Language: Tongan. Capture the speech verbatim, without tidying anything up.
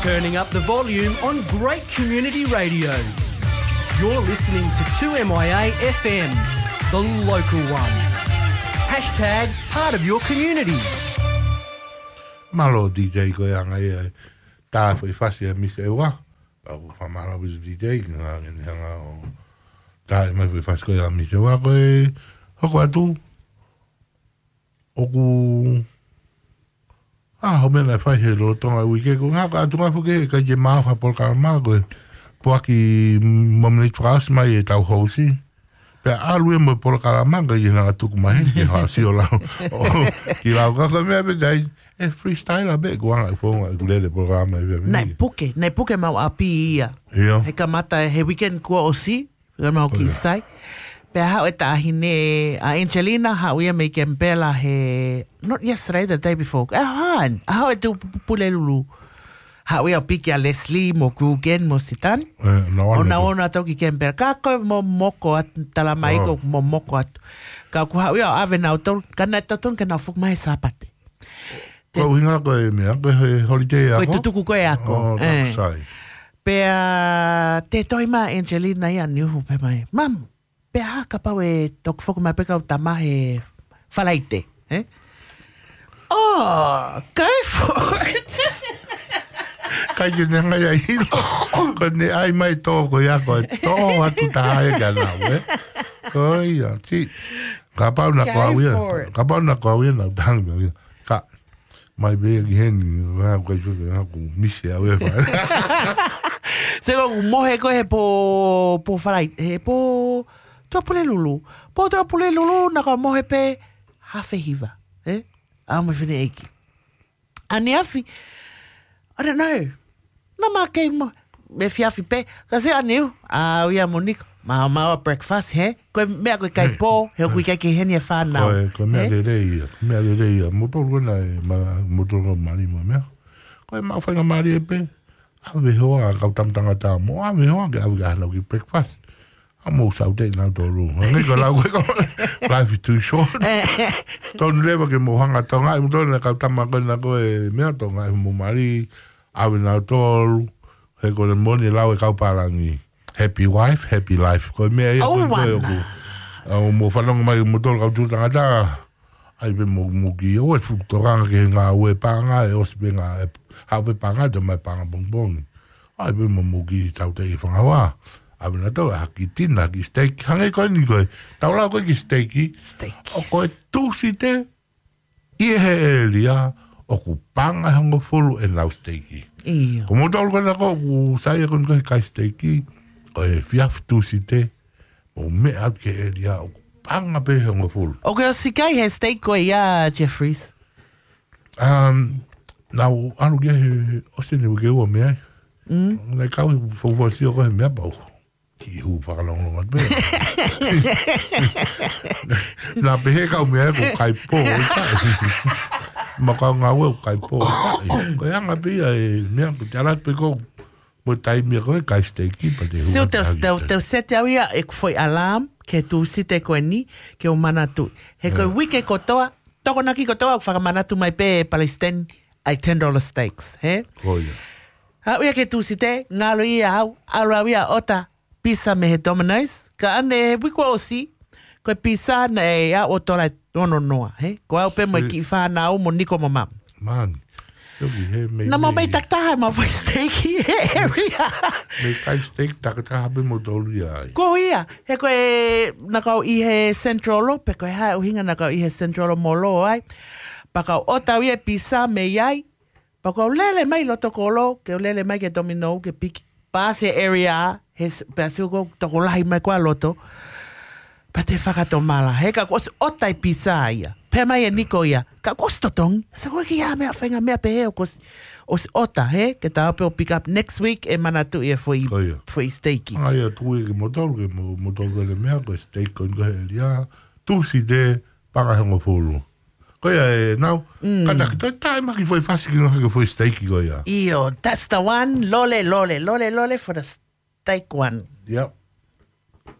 Turning up the volume on great community radio. You're listening to two M I A F M, the local one. Hashtag part of your community. Mālō D J ko e anga ia e tā foʻi fasi a Miss Ewa. Au ka mālō with D J, ngā ngeni hanga o tā e mai foʻi fasi ko ia Miss Ewa ko e hoko atu. ʻOku, ʻa, ho mena e fai he lolotonga uike ko ngā ka atu ngā fuke, ka ke mau ha polokalama ko e puaki mo mene fakaosi mai e tau housi. Pea ʻalu e mo e polokalama ka ke nanga tuku mai, ke hasi o lau. O, ki lau ka ka mea pe tai, e freestyle a pe, ko anga e fonga, e kulele polokalama e pea Nai mea. Puke, nai puke mau api ia. Ia. He kamata he weekend kua osi, Ka mau ki sai. Pea haʻu e taʻahine a Angelina, haʻu ia mei Kempela he, not yesterday, the day before. A han, a haʻu e tu pule lulu. Haʻu ia o piki a Leslie, mo Kugen, mo Sitan. Ona ona tau ki Kempela. Ka ko mo moko atu, tala mai ko mo moko atu. Ka ku haʻu ia o ave nau tau, ka na tau tonu ke nau fuku mai sapate. Ko hinga ko e mea, ko e holiday ako? Ko e tutuku ko e ako. Oh, eh. Sai. Pea te toi ma Angelina ia ni uhu pe mai. Mam, pea ha kapau e toki foki mai pe kau tama he Falaite, eh? Oh, kai for it. Kai ke ne ngai ai hilo. Ko ne ai mai tō ko ia ko e tō atu taha e kia nau, eh? Ko ia, ti. Kapau na ko au ia. Kapau na ko au ia, na utangi au ia. Ka, mai pē ki heni, vā kuai tuke, vā ku misi au e whai. Se ko mohe ko he po, po falai, he po, tua pule lulu. Po tua pule lulu, na ko mohe pē, hafe hiva. Eh? Au me fene eki. Ani afi. I don't know. Na ma kei mo me fiafi pe ka se aniu a ia mo niko ma ma breakfast he ko mea ko kai po he ko kai ke heni e fa na ko mea le le ia mea le le ia mo to ko na ma mo to ko mali mo mea ko ma fa na mali e pe a ve ho a ka tam tanga ta mo a ve ho a ke a ve ka na ki breakfast a mo sau te na to lu nge ko la ko ko life is too short to leva ke mo hanga to ngai mo to na ka tam ko na ko e mea to ngai mo mali ʻAve nautolu, he ko e moni lau e kau pālangi. Happy wife, happy life. Ko e meʻa ia ko e ko e ʻoku. ʻOku mo fanongo mai mo tolu kau tū tangata. ʻAi pē mo muki, ʻo e fuku tokanga ke he ngāue pānga, ʻe ʻosi pē ngā, ʻe hau pē pānga, te mai pānga pongipongi. ʻAi pē mo muki tau te i fangawā. ʻAve nautolu, haki tina, haki steak, hangē ko eni ko e. Tau lau ko e ki steak. Steak. ʻO ko e Tūsite, ʻi he ʻēlia ʻoku pānga hongofulu ʻenau siteiki. ʻIo. Ko moutolu ko ena ko ʻoku sai ko ena ko e kai siteiki, ʻo e efiafi Tūsite, ʻo meʻa atu ki he ʻēlia ʻoku pānga pē hongofulu. ʻOku ke ʻosi kai he siteiki ko ia, Jeffries? Um, nau anu ki he ʻosi ni uike ua mei ai. Mm. Nai kau i fou fou sio ko he meʻa pau. Ki hu fakalongolongo atu pē. Na pehē kau meʻa ko kai pō. Ma kau ngāue ko kai pō. Ko e anga pē ia e meʻa ko te ala pē ko mo taimi ko e kai steiki pa te hu. Siu te u, te u, te u seti au ia e ku foʻi alarm ke Tūsite ko eni ke u manatu. He ko e uike kotoa, tokonaki kotoa ʻoku fakamanatu mai pē Palestine ai ten dollar steaks, he? Ko ia. Haʻu ia ke Tūsite, ngalo ia au, ʻalu au ia ʻota pizza mei he Domino's, ka ʻane he uike ʻosi, ko e pizza naʻe ʻa ʻo tola e ono noa, he? Ko au pē mo e kiʻi fānau mo niko mo mam. Man. Na mau mei takitaha ma fai steiki he area. Mei kai steiki takitaha pē mo tolu ia ai. Ko ia, he ko e na kau ʻi he Central pe ko e hā e ʻuhinga na kau ʻi he Central mo lo ai. Pa kau ʻota au ia e pizza mei ai. Pa kau lele mai loto kolo, ke lele mai ke Domino, ke piki. Pasi e area, he pasi ko tokolahi mai kua loto. Pa te fakatomala, he ka kuo ʻosi ʻota e pizza ia. Pea mai e niko ia, ka kuo ʻosi totongi. Sa ko e kiʻi meʻa fainga meʻa pehē ʻoku ʻosi ʻota, he, ke tau pē ʻo pick up next week e manatu ia foʻi steiki. Ai a tui ke moutolu, ke moutolu ke le meʻa, ko e steiki ko e ʻelia, Tūsite, pānga hongofulu. Ko ia e nau, ka taki toi tae maki foʻi fasi ki noha ke foʻi steiki ko ia. ʻIo, that's the one, lole, lole, lole, lole for the steak one. Yep.